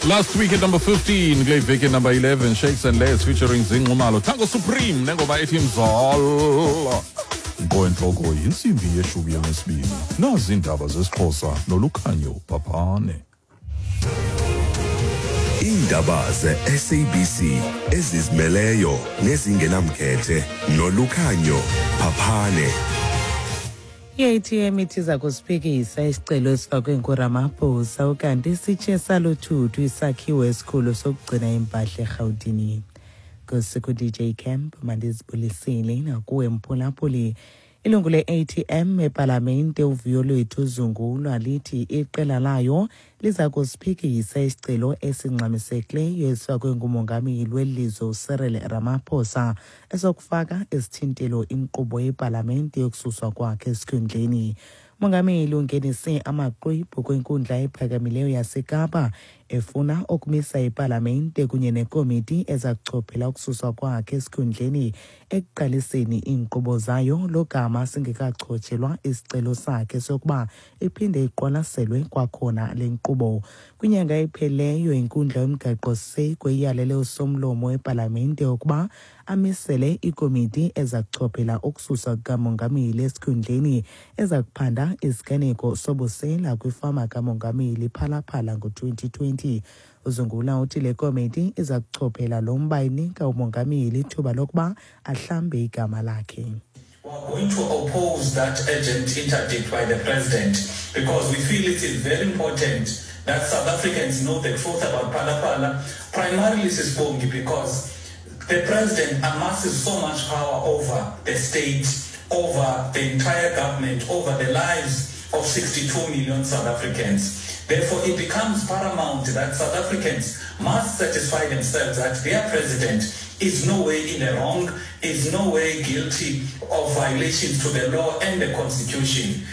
Last week at number 15, kule veki number 11, Shakes and Les featuring Zinqumalo, Tango Supreme nengoma ethi Mzala. Nkoentloko yintsimbi yeshumi elinesibini. Nazi iindaba zesiXhosa noLukhanyo Bhabhane. Iindaba ze-SABC ezizimeleyo nezingenamkhethe noLukhanyo Phaphane. I-ATM ithi iza kusiphikisa isicelo esifakwe nguRamaphosa, ukanti sitshe saluthuthu isakhiwo esikhulu sokugcina impahla eRhawutini. Ngosiku DJ Camp, mandizibulisile nakuwe mphulaphuli. Ilungu le-ATM epalamente uVuyolwethu Zungulwa lithi iqela layo liza kusiphikisa isicelo esingxamisekileyo esifakwe ngumongameli welizwe uCyril Ramaphosa esokufaka isithintelo inkqubo yepalamente yokususwa kwakhe esikhundleni. Umongameli ungenise amaxwebhu kwinkundla ephakamileyo yaseKapa efuna ukumisa ipalamente kunye nekomiti eza kuchophela ukususwa kwakhe esikhundleni ekuqaliseni iinkqubo zayo, logama singekachotshelwa isicelo sakhe sokuba iphinde iqwalaselwe kwakhona le nkqubo. Kwinyanga epheleyo, inkundla yomgaqo-siseko iyalele usomlomo wepalamente ukuba amisele ikomiti eza kuchophela ukususwa kukamongameli esikhundleni, eza kuphanda isiganeko sobusela kwifama kamongameli Phalaphala ngo-2020. Uzungula uthi le komiti iza kuchophela lo mba inika umongameli ithuba lokuba ahlambe igama lakhe. We are going to oppose that urgent interdict by the president because we feel it is very important that South Africans know the truth about Phala Phala, primarily Sisbongi, because the president amasses so much power over the state, over the entire government, over the lives of 62 million South Africans. Therefore, it becomes paramount that South Africans must satisfy themselves that their president is no way in the wrong, is no way guilty of violations to the law and the constitution.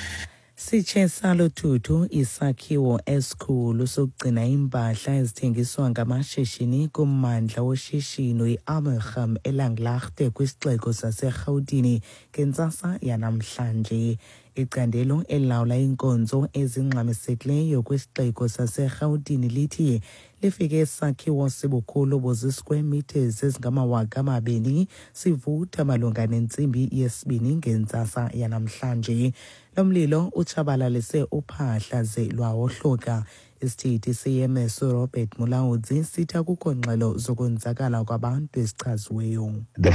Sitshe saluthuthu isakhiwo esikhulu sokugcina iimpahla ezithengiswa ngamashishini kummandla woshishino i-Amelgem eLanglaagte kwisixeko saseRhawutini ngentsasa yanamhlanje. Icandelo elilawula iinkonzo ezingxamisekileyo kwisixeko saseRhawutini lithi lifike isakhiwo sibukhulu buzi-square meters ezingama-2000 sivutha malunga nentsimbi yesibini ngentsasa yanamhlanje. Lo mlilo utshabalalise uphahla ze lwawohloka. Isithethi se-EMS uRobert Mulaudzi sithi akukho ngxelo zokonzakala kwabantu ezichaziweyo. The